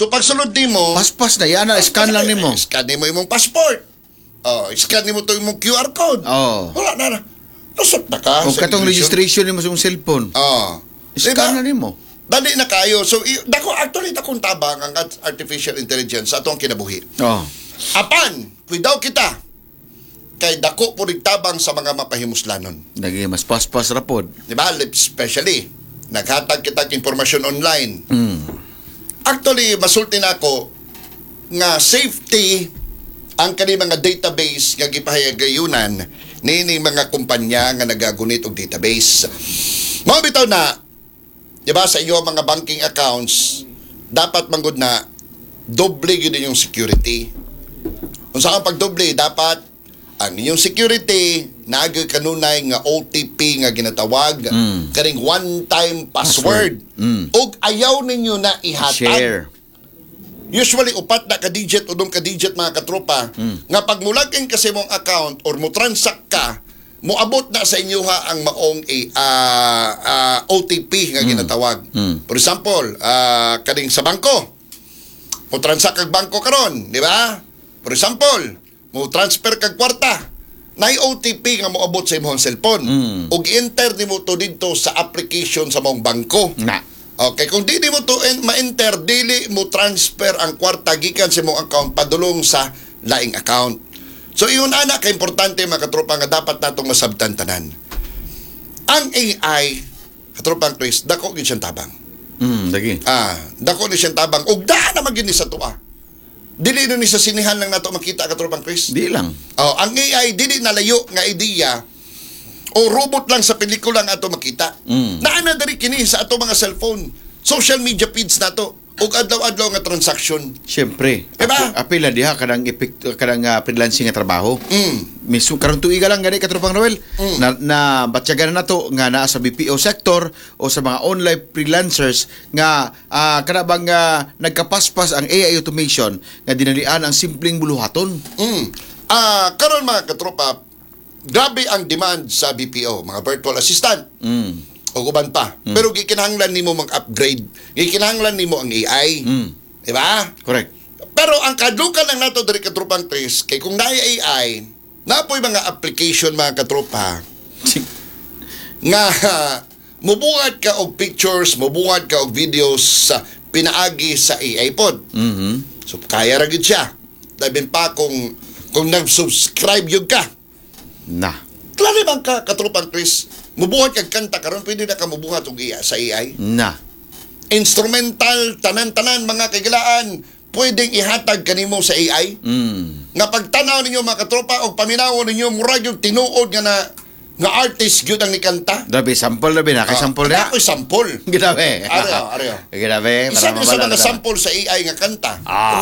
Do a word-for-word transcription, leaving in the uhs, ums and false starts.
So pagsulod nimo, Paspas na yan, scan lang nimo. Scan nimo imong passport. Oh, scan nimo to imong Q R code. Oh. Wala na na. Lusot na ka O sa katong immigration. Registration nimo sa imong cellphone. Oh. Scan Diba? na nimo. Dali na kayo. So, i- dako, actually, dakong tabang ang artificial intelligence sa atong kinabuhi. Oh. Apan, kuidaw kita. Kay dako po rin tabang sa mga mapahimuslanon. Lagi mas paspas ra pod. Di ba? Especially, naghatag kita og impormasyon online. Mm. Actually, masulti na ako nga safety ang kani mga database nga gipahayagayunan nining mga kumpanya nga nagagunit og database. Mao bitaw na, di ba, sa iyo mga banking accounts, dapat manggod na doble gyud inyong security. Kung saan pagdoble, dapat ang inyong security naagay kanunay nga O T P nga ginatawag, Mm. kaning one-time password. Mm. Ug ayaw ninyo na ihatag. Share. Usually upat na ka-digit o ka digit, mga katropa, Mm. nga pag mulagin kasi mong account or mo transact ka, moabot na sa inyo ha ang maong eh, ah, ah, O T P nga ginatawag. Mm. For example, ah, kaning sa bangko. Mo transact kag bangko karon, di ba? For example, mo transfer kag kwarta. Nay O T P nga moabot sa imong cellphone. Mm. Ug enter nimo to didto sa application sa mong bangko. Na. Okay, kung dili mo to en- ma-enter, dili mo transfer ang kwarta gikan sa imong account padulong sa laing account. So iyon ana ka importante, mga katropa, nga dapat natong masabtan tanan. Ang A I, katropang Chris, dako gyud siyang tabang. Mm, lagi. Ah, dako ni siyang tabang ug daan naman gyud ni sa atoa. Dili na ni sa sinihan lang nato makita, katropang Chris. Di lang. Oh, ang A I dili nalayo nga ideya o robot lang sa pelikula nga ato makita. Mm. Naa na diri kini sa ato mga cellphone, social media feeds nato ug adlaw-adlaw nga transaction. Siyempre. Diba? Api- Apila diha kanang epekto kanang ah, freelancing nga trabaho. Mm. Mismo karon tuiga lang gani, katropang Noel, na, na batyagan na nato nga naa sa B P O sector o sa mga online freelancers nga uh, kana bang ah, nagkapaspas ang A I automation nga dinalian ang simpleng buluhaton. Mm. Ah, karon, mga katropa, grabe ang demand sa B P O, mga virtual assistant. Mm. O uban pa. Pero gikinahanglan nimo mag-upgrade. Gikinahanglan nimo ang A I. Mm. Di ba? Correct. Pero ang kadlukan lang nato diri, katropang Chris, kay kung naay A I, napoy mga application, mga katropa, nga mubuhat ka og pictures, mubuhat ka og videos sa pinaagi sa A I pod. Mhm. So kaya ra gyud siya. Labi pa kung kung nag-subscribe yun ka. Na. Klaro bang ka, katropang Chris, mubuhat kag kanta karon, pwede na ka mubuhat og A I, sa A I. Na. Instrumental, tanan-tanan, mga kagilaan, pwedeng ihatag kanimo sa A I. Mm. Nga pagtanaw ninyo, mga katropa, og paminaw ninyo, murag yung tinuod nga na nga artist gyud ang nikanta. Grabe sample, grabe na kay sample na. Ako'y sample. Grabe. Areo, areo. Grabe. Isa Para ni sa mabala mga na. sample sa A I nga kanta. Ah.